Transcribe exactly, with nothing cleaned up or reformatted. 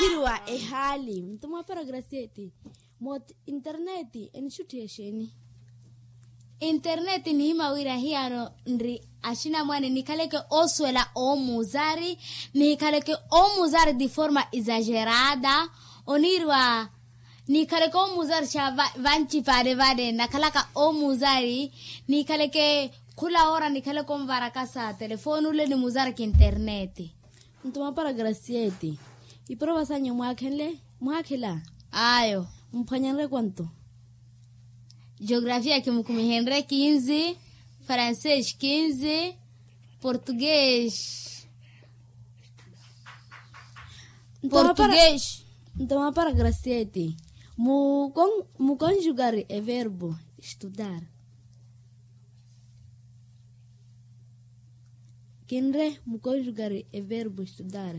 Iriwa ehaali mutuma wa paragrasiyeti. Mot interneti enixuttiha exeeni? Interneti nihima wira hiyano nri axinamwane nikhaleke osuwela omuuzari, nihikhaleke omuuzari di forma exagerada. Oniiriwa nihikhaleke omuuzari xa vancipale vale nakhalaka omuuzari. Nihikhaleke khula ora nikhaleke onvarakasa telefoni ule nimuuzaraka interneti. Ntuma paragrasiyeti. Iprovasanyu mwaakhenle mwakhela? Ayo. Mphwanyanre kwanto? Geografiya kimukhumihenre kinzi, francês kinzi, português. Português. Ntoma paragrasiyeti. Mukonjugari everbo estudar. Kinre mukonjugari everbo estudar.